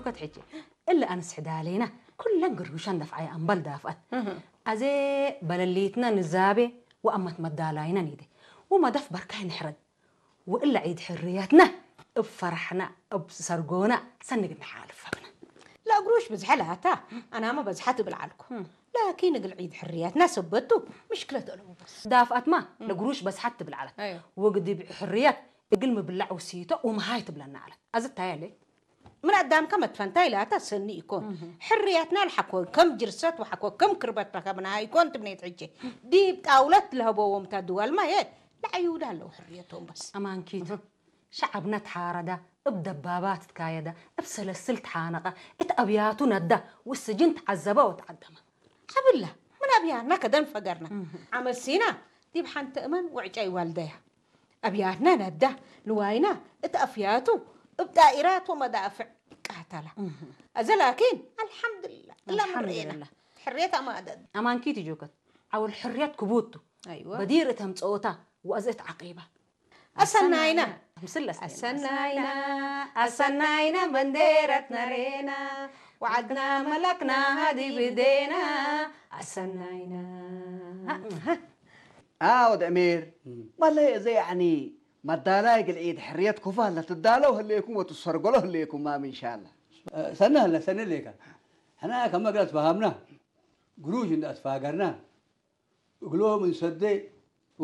ከት ሕጂ እለ ኣንስ ሕዳሌና ኩለን ግርግሻን ደፍዓያ ኣምበል ዳፍኣት ኣዜ በለሊትና ንዛቤ ወኣመት መዳላይና ኒደ ወመደፍ በርካይ ንሕረድ ወእለ ዒድ ሕርያትና እብ ፈራሕና እብ ሰርጎና ሰንግ ንሓልፍ ኣብና። ለእግሩሽ ብዝሐ ለሃታ ኣናመ በዝሓ ትብል ዓልኩ ላኪን እግል ዒድ ሕርያትና ሰበቱ ምሽክለት ኣለዎ በስ ዳፍኣትማ ለግሩሽ በዝሓት ትብል ዓለት ወግዲ ብሕርያት እግል ምብላዕ ውስይቶ ወመሃይ ትብለና ዓለት ኣዝታያለ ምን ኣዳምከ መትፈንታ ኢላታ ሰኒ ኢኮን ሕርያትና ልሓኮ ከም ጅርሰት ወሓኮ ከም ክርበት ረከብና ኢኮን ትብኔት ሕጂ ዲብ ጣውለት ለህበዎም ታ ድዋልማ የ ለዓይውዳ ኣለዉ ሕርየቶም በስ ኣማንኪት ሸዓብና ተሓረዳ እብ ደባባት ትካየዳ እብ ሰለስል ተሓነቐ እት ኣብያቱ ነዳ ወስጅን ተዓዘባ ወተዓደማ ዓብላ ምን ኣብያና ከደን ፈገርና ዓመሲና ዲብ ሓንቲ እመን ውዕጫይ ዋልደያ ኣብያትና ነዳ ንዋይና እት ኣፍያቱ እብ ዳኢራት ወመዳፍዕ ቃተላ ኣዘ ላኪን ኣልሓምዱላ እላ ምርኤና ሕርየት ኣማደድ ኣማንኪት ጆከት ዓውል ሕርያት ክቡቱ በዲር እተምፀኦታ ወእዘት ዓቂባ ኣሰናይና ምስል ኣሰናይና ኣሰናይና በንዴረት ነሬና ወዓድና መላክና ሃዲ ብዴና ኣሰናይና ኣዎ ደእሜር ማለይ እዚ ያዕኒ መዳላይ ግልዒድ ሕርየት ኩፋ ለትዳለው ህሌኩም ወትሰርገሎ ህሌኩም ማም ኢንሻላ ሰነ ህለ ሰነ ሌካ ሕና ከመ ግለ ትፈሃምና ግሩሽ እንዳ ትፋገርና እግሎም እንሰደ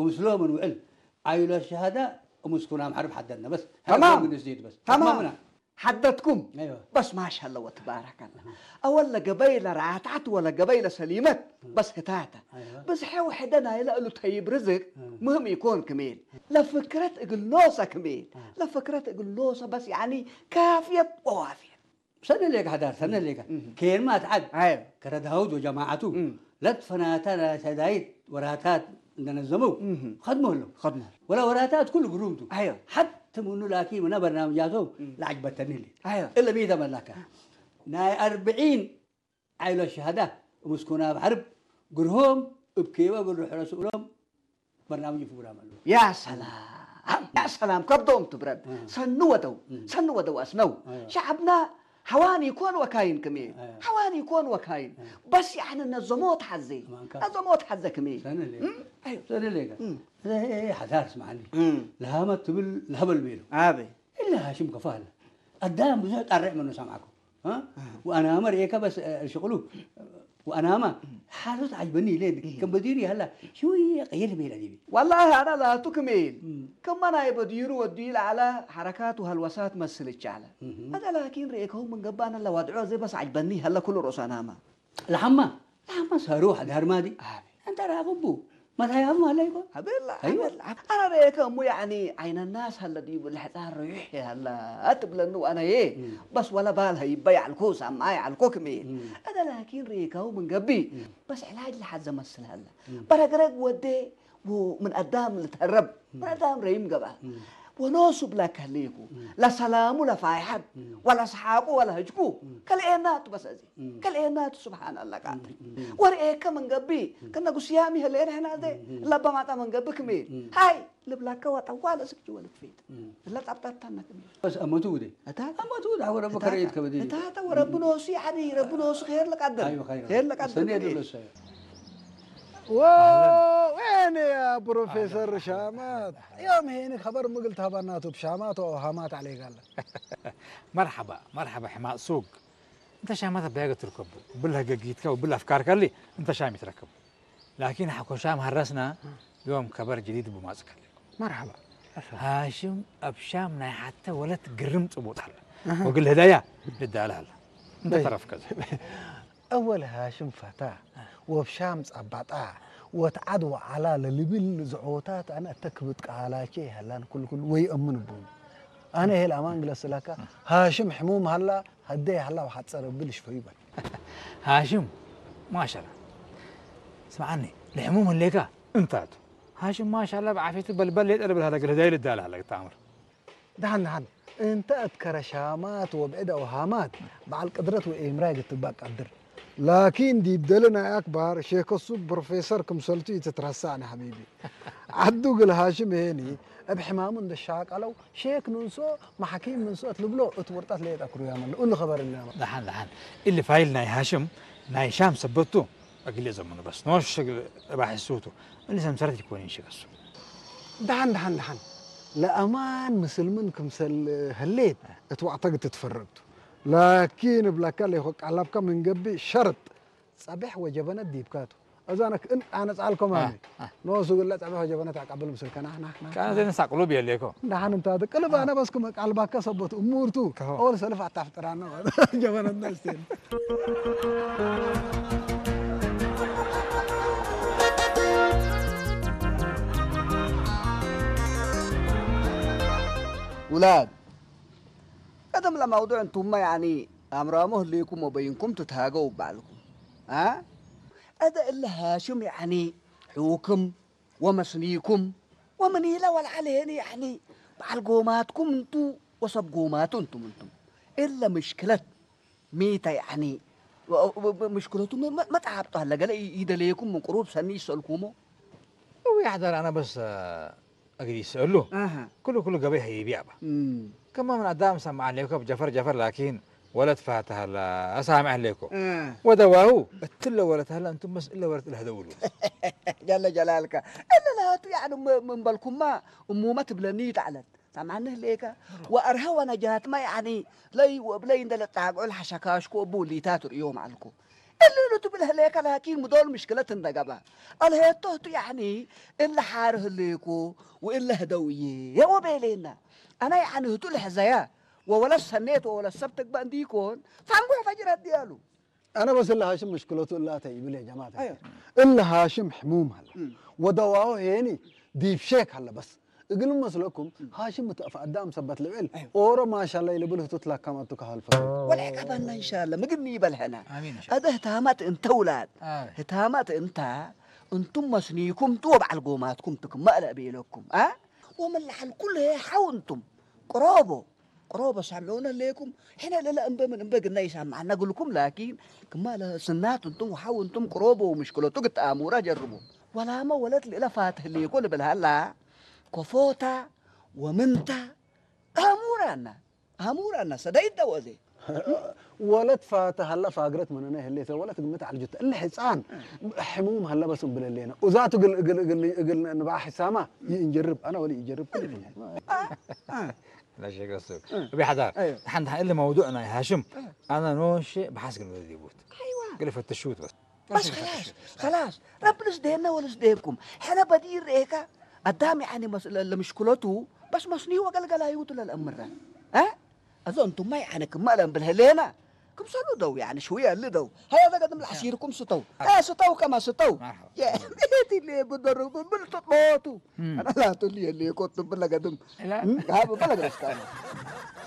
ወምስሎም እንውዕል ዓይሎ ሸሃዳ እምስኩና ምሓርብ ሓደና በስ ተማም ግንስት በስ ተማም ምና ሓደትኩም ኣይዋ በስ ማሻላ ወትባረከላ ኣወለ ገበይለ ራታት ወለ ገበይለ ሰሊመት በስ ህታተ ኣይዋ ብዝሐ ውሕደ ናይለ እሉ ተይብ ርዝቅ ምህም ይኮን ክሜል ለፍክረት እግል ኖሰ ክሜል ለፍክረት እግል ኖሰ በስ ያኒ ካፍየት ወዋፍየት ሰነ ሌካ ሓዳር ሰነ ሌካ ኬርማ ትዓድ ኣየ ከረ ዳውድ ወጀማዓቱ እም። ለትፈናታ ሰዳይት ወራታት እንደነዘመው እም። ከድሞ ኣሎ ከድሞ ወላ ወራታት ኩሉ ግሩምቱ ኣየ ሓት ምኑ ላኪ ምና በርናምጃቶም እም። ለዓጅበተኒ ሌ ኣየ እለ ሚተ መላካ ናይ ኣርብዒን ዓይሎ ሸሃዳ ምስኩና ብዓርብ ግርሆም እብ ኬበ ግርሑ ረስእሎም በርናምጅ ፕሮግራም ኣለዉ ያ ሰላም ያ ሰላም ከብዶም ትብረድ ሰኑ ወደው ሰኑ ወደው ኣስነው ሸዓብና ሐዋን ይኮን ወካይን ክሜ ሐዋን ይኮን ወካይን በስ ያዕኒ ነዞሞት ሐዜ ነዞሞት ሐዘ ክሜ ሰነ ሌ ሰነ ሌ ሓዳር ስማዓኒ ለሃመት ትብል ለሀበል ቤሉ ኣበ إلا هاشم كفالة الدام بزح طرع منه سامعكم ها وأنا أمر إيه كبس الشغلو وأنا ما حاسس عجبني ليه كم بديري هلا شوية غير ميلا دي والله أنا لا تكميل كما أنا يبديرو ودي على حركات وهلوسات مثل الشعلة هذا لكن ريكهم من قبانا لوضعه زي بس عجبني هلا كل رؤوس أنا ما لحما لحما صاروح دار ما دي أنت راغبو ما تهيأ ما عليكم أبلا أيوة. أبلا. أنا ريكهم يعني عين الناس هلا دي بالحتار ريح هلا أتبلنو أنا إيه بس ولا بالها يبيع الكوس أما يع الكوكمي هذا لكن ريكهم من قبي بس علاج لحد زمان سلهلا برقرق ودي ومن قدام لتهرب من قدام ريم قبا ونوسو بلا كهليكو لا سلامو لا فايحب ولا سحاقو ولا هجكو كالعينات بس أزي كالعينات سبحان الله قاتل ورئيك من قبي كنا قسيامي هلين هنا دي لا بماتا من قبك مين هاي ልብላካ ዋጣ ዋላ ስብ ጅወል ክፌት ለጣብጣብታ ነክም بس أموتو دي እታ أموتو دي عورة بكريت كبدي እታ እታ ወረብኖሱ ያኒ ረብኖሱ ኸይር ለቃደር أيوة خير ኸይር ለቃደር سنة دي بس وين يا بروفيسور شامات يوم هيني خبر مقلت هبناتو بشامات وهامات عليك الله مرحبا مرحبا حماق سوق انت شامات بياقة تركب وبالها ققيتك وبالها افكارك اللي انت شام يتركب لكن حكو شام هرسنا يوم كبر جديد بماسك مرحبا هاشم ابشام ناي حتى ولا تقرم تبوت حلا وقل هدايا للدالة هلا انت طرف كذا أول هاشم فتاة وبشام ጸባጣ وتعد وعلا للبل زعوتات أنا أتكبت قالاتي هلان كل كل وي أمن بون أنا هي الأمان قلس لك هاشم حموم هلا هدي هلا وحتصر بلش فيبا هاشم ما شاء الله اسمعني الحموم الليكا انتاتو هاشم ما شاء الله بعافيته بل بل يتقلب لهذا قال هدايا للدالة هلا تامر دهن دهن انت اتكر شامات وبعد اوهامات بعد القدرة وإمراء قد تبقى قدر لكن دي بدلنا أكبر شيخ السوق بروفيسور كمسلتو يتترسعنا حبيبي ዓዱ ግል ሃሽም ይሄኒ እብ ሕማሙ እንደሻቀለው ሼክ ንንሶ ማሕኪም ንንሶ እትልብሎ እት ውርጣት ለየጣ ክሩያ መለ እሉ ኸበር እና ደሓን ደሓን እሊ ፋይል ናይ ሃሽም ናይ ሻም ሰበቱ ኣግሌ ዘመኑ በስ ኖሽ እባሕሱቱ እሊ ሰምሰረት ይኮን ይንሽበሱ ደሓን ደሓን ደሓን ለኣማን ምስልምን ክምሰል ህሌት እት ዋዕተግ ትትፈረግቱ ላኪን እብለካ ለይኮ ቃላብካ ምንገቢ ሸርጥ ጸብሕ ወጀበነት ዲብካቱ እዛነ ክእን ኣነጻልኮም ኣሚ ኖሱ ግለ ጸብሕ ወጀበነት ኣቃብል ምስልከና ናሕና ከነ ዘይነሳ ቅሉብ የሌኮ ደሓን እንታ ቅልብ ኣነ በስኩም ቃልባካ ሰቦት እሙርቱ ኦል ሰልፍ ኣታፍጥራና ጀበነትና ስቴን ውላድ ቀደም ለማውዱዕ እንቱማ ያኒ ኣምራሞ ህልይኩም ወበይንኩም ትትሃገው ባልኩም አ እደ እለ ሃሽም ያኒ ሕውክም ወመስኒኩም ወምን ኢለ ወልዓል ሄኒ ያኒ በዓል ጎማትኩም እንቱ ወሰብ ጎማቱ እንቱም እንቱም እለ ምሽክለት ሚተ ያኒ ምሽክለቱ መጣብጦ ኣለ ገለ ይደለየኩም ምን ቅሩብ ሰኒ ይሰልኩሞ እው ያሕደር ኣነ በስ እግል ይስእሉ ኩሉ ኩሉ ገበይ ሀይቢ ኣባ ከማ ምን ኣዳም ሰማዕ ኣለይኮ ብጀፈር ጀፈር ላኪን ወለት ፋታ ሀላ ኣሳምዕ ኣለይኮ ወደዋሁ እትለ ወለት ሀላ እንቱም በስ እለ ወለት እለ ህደውሉ ጀለ ጀላልካ እለ ለሃቱ ያዕኒ ምንበልኩማ እሙመ ትብለኒ ይጣዕለት ሰማዕኒ ህሌከ ወአርሀ ወነጃትማ ያኒ ለይ ወብለይ እንደለጣግዑ ለሐሸካሽኩ እቡ ሊታ ትርእዮም አልኩ እልሉ ትብል ህሌከ ላኪን ምዶል ምሽክለት እንደገባ አልሄቶ ህቱ ያኒ እለ ሓር ህሌኮ ወእለ ህደውዬ ወቤሌና አና ያኒ ህቱ ልሕዘያ ወወለት ሰኔት ወወለት ሰብ ትግበእ እንዲኮን ታንጉሕ ፈጅረት ዲያሉ أنا بس إلا هاشم مشكلته إلا أتى يبلي يا جماعة إلا هاشم حموم هلا ودواه هيني ديب شيك هلا بس እግል መስለኩም ሃሽም ምትእፍ ኣዳም ሰበት ልብል ኦሮ ማሻላ ይልብል ህቱት ላካም ኣቱ ካሃል ፈ ወልዕቀበና እንሻላ ምግኒ ይበልሐና ኣደ ህታማት እንተ ውላድ ህታማት እንታ እንቱም መስኒኩም ቱ ወበዓል ጎማትኩም ትክመእለ ቤለኩም አ ወመላሓል ኩሉ ሓው እንቱም ቅረቦ ቅሮቦ ሳምዑነ ሌኩም ሕነ ለለ እምበ ምን እምበ ግና ይሳምዓና ግልኩም ላኪን ክማ ለስናት እንቱም ወሓው እንቱም ቅሮቦ ወምሽክለቱ ግተኣሙራ ጀርቡ ወላመ ወለት ልእለ ፋትህ ሌኮ ልብል ሃላ ኮፎታ ወምንታ ኣሙራና ኣሙራና ሰደይት ደወዜ ወለት ፋተ ሀላ ፋግረት መነነ ህሌተ ወለት ግምት ዓልጁተ እለ ሕፃን ሕሙም ሀላ በስ እንብለሌና እዛቱ ግል ግል ግል ግል ንባዓ ሕሳማ ይእንጀርብ ኣና ወሊ ይጀርብ ኩል ላሸገሱ እቢ ሓዳር ሓንቲ እለ መውዱዕ ናይ ሃሽም ኣና ኖሼ ብሓስግን ዲቡት ግል ፈትሹት በስ بس خلاص خلاص رب لس دينا ولس دينكم حنا بدير ريكا قدام يعني مس... لمشكلته بس مسني وقلقل هيوت للأمر ها أظن أنتم ما يعني كم ما لهم بالهلينا كم صلوا دو يعني شوية اللي دو هيا ذا قدم العشيركم ستو آه ستو كما ستو يا بيتي اللي بدر بالتطوتو أنا لا تقول لي اللي كنت بلا قدم لا هذا بلا قدم